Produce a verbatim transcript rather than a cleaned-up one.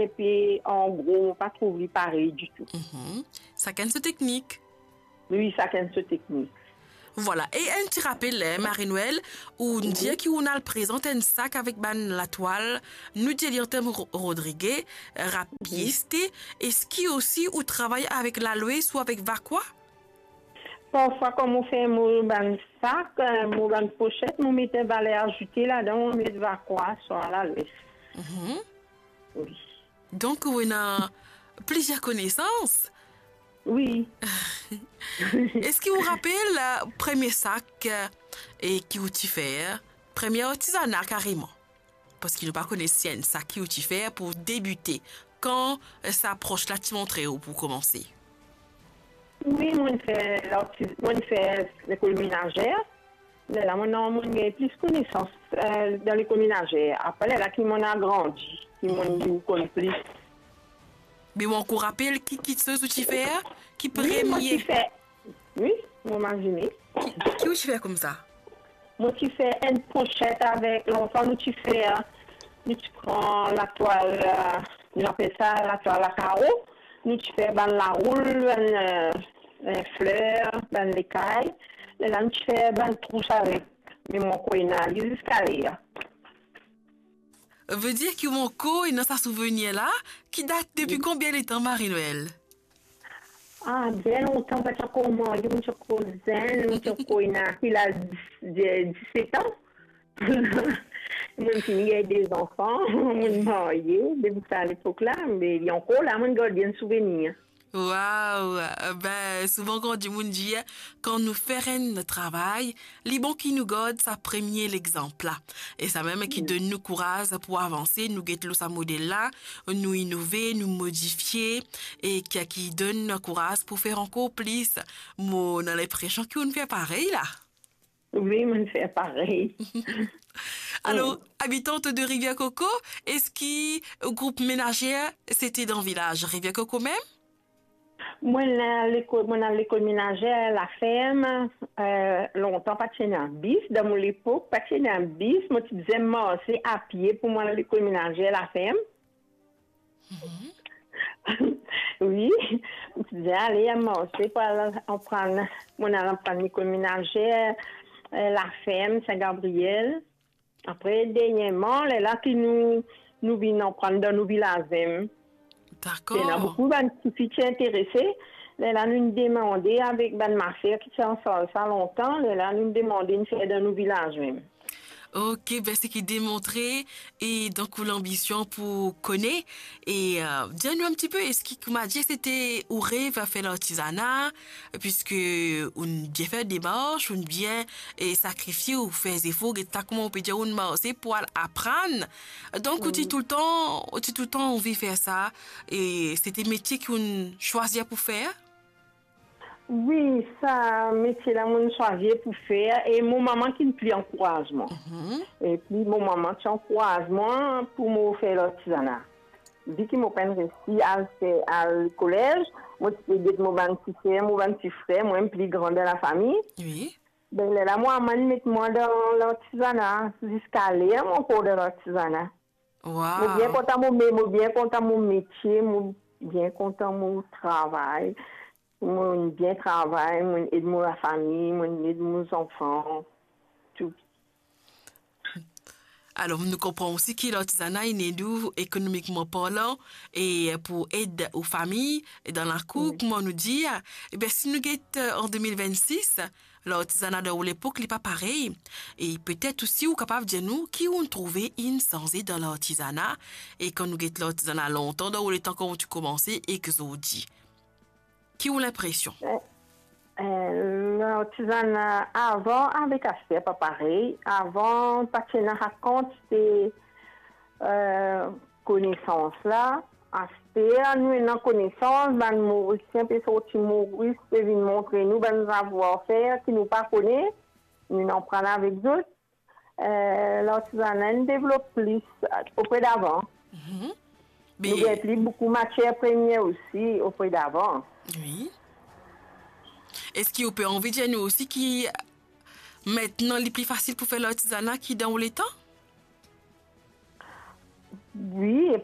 epi an gro, mo pa trouv li parey ditou. Mhm. Sakenn so teknik. Wi, sakenn so teknik. Vwala. E enn ti rapel, eh, Marie-Noëlle, ou dir ki ou al prezant enn sak avek bann latwal, nou dir li an term ro-, rodrige, rapieste. Eski osi ou travay avek Lalwes ou avek Vacqua? Parfwa, kan mo fer mo bann sak, eh, mo bann pochet, mo met valer azoute ladan, mo met Vacqua, swa Lalwes. Mhm. Wi. Donk, ou ena plizier konesans. Wi. Eski ou rapel, eh, premie sak, eh, e ki ou ti fer, premie artizana kareman? Parski nou pa kone si enn sak ki ou ti fer pou debite. Kan, eh, sa pros la ti montre ou pou koumanse? Wi, mo'nn fer lartiz-, mo'nn fer lekol menazer. Lerla mo'nn, mo'nn gagn plis konesans, eh, dan lekol menazer. Apre, lerla ki mo'nn agrandi, ki mo'nn vinn konn plis. Me ou ankor rapel ki, ki kiksoz ou ti fer? Ki... Wi, mo ti premie fer. Wi, mo mazine. Ki, ki ou ti fer koumsa? Mo ti fer enn pochet avek, lontan nou ti fer, nou ti pran latwal, eh, nou apel sa latwal a karo, nou ti fer bann laroul, bann, eh, eh, fler, bann lekay. Lerla nou ti fer bann trous avek, me mo ankor ena li ziska ler. Vedir ki ou ankor ena sa souvenir la, ki dat depi konbien letan, Marie-Noëlle? Ah, bien lontan, mo pa ti ankor marye, mo ti ankor zenn, mo ti ankor ena ki laz, dis, dis, diset an. Mo'nn fini gagn de zanfan, mo'nn marye, depi sa lepok la, me li ankor la, mo'nn gard bien souvenir. Waw! Ben, souvan kan dimoun dir, kan nou fer enn travay, li bon ki nou gard sa premie lexanp la. E samem ki donn nou kouraz pou avanse, nou get lor sa model la, nou inove, nou modifie, e ki, ki donn kouraz pou fer ankor plis. Mo ena linpresion ki ou'nn fer parey la. Wi, mo'nn fer parey. Alor, mm, abitant de Rivière Coco, eski group menazer, sete dan vilaz Rivière Coco mem? Mo'nn al lekol, mo'nn al lekol menazer laferm, eh, lontan pa ti ena bis, dan mo lepok, pa ti ena bis, mo ti bizin marse apie pou mo al lekol menazer laferm. Mhm. Wi, mo ti bizin ale marse pou al aprann, mo'nn al aprann lekol menazer, eh, laferm, Sin Gabriel. Apre, derniereman, lerla ki nou, nou vinn aprann dan nou vilaz mem. Dakor. Ena boukou bann tifi ti interese. Lerla nou demande avek bann maser ki ti ansarz sa lontan, lerla nou demande nou fer dan nou vilaz mem. Ok, ben seki demontre, e donk ou lanbision pou kone, e, eh, dir nou enn tipe, eski kouma dir sete ou rev fer lartizana, piski ou'nn bien fer demars, ou'nn bien, e, sakrifie, ou fer zefor, get sa kouma ou pe dir, ou'nn marse pou al aprann. Donk, ou ti, wi, toultan, ou ti toultan anvi fer sa, e sete metie ki ou'nn swazir pou fer? Wi, sa metie la mo'nn swazir pou fer, e mo mama ki'nn pli ankouraz mwa. Mhm. Epi mo mama ti ankouraz mwa pou mo fer lartizana. Vi ki mo pa'nn resi al fer, al kolez, mo ti pe get mo bann ti ser, mo bann ti frer, mo mem pli gran dan lafami. Wi. Ben, lerla mo mama inn met mwa dan lartizana, ziska ler mo ankor dan lartizana. Waw. Mo bien kontan mo me-, mo bien kontan mo metie, mo bien kontan mo travay. Mo bien travay, mo ed mo lafami, mo ed mo zanfan, tou. Alor, nou konpran osi ki lartizana inn ed ou ekonomikman parlan e pou ed ou fami dan lakour, wi, kouma nou dir. Eben, si nou get, eh, an de mil vennsis, lartizana dan ou lepok, li pa parey. E petet osi ou kapav dir nou ki ou trouve inn sanze dan lartizana, e kan nou get lartizana lontan, dan ou letan kan ou ti koumanse ek zordi. Ki ou linpresion? Eh, eh, lartizana avan avek aster pa parey. Avan, pa ti ena sa kantite, eh, konesans la. Aster, nou ena konesans, bann Morisien pe sorti Moris, pe vinn montre nou bann savwar-fer ki nou pa kone, nou aprann avek zot. Eh, lartizana inn devlop plis, eh, opre davan. Mhm. Nou gagn pli boukou matier premie osi opre davan. Wi. Eski ou pe anvi dir nou osi ki, eh, aster li pli fasil pou fer lartizana ki dan ou letan? Wi, epi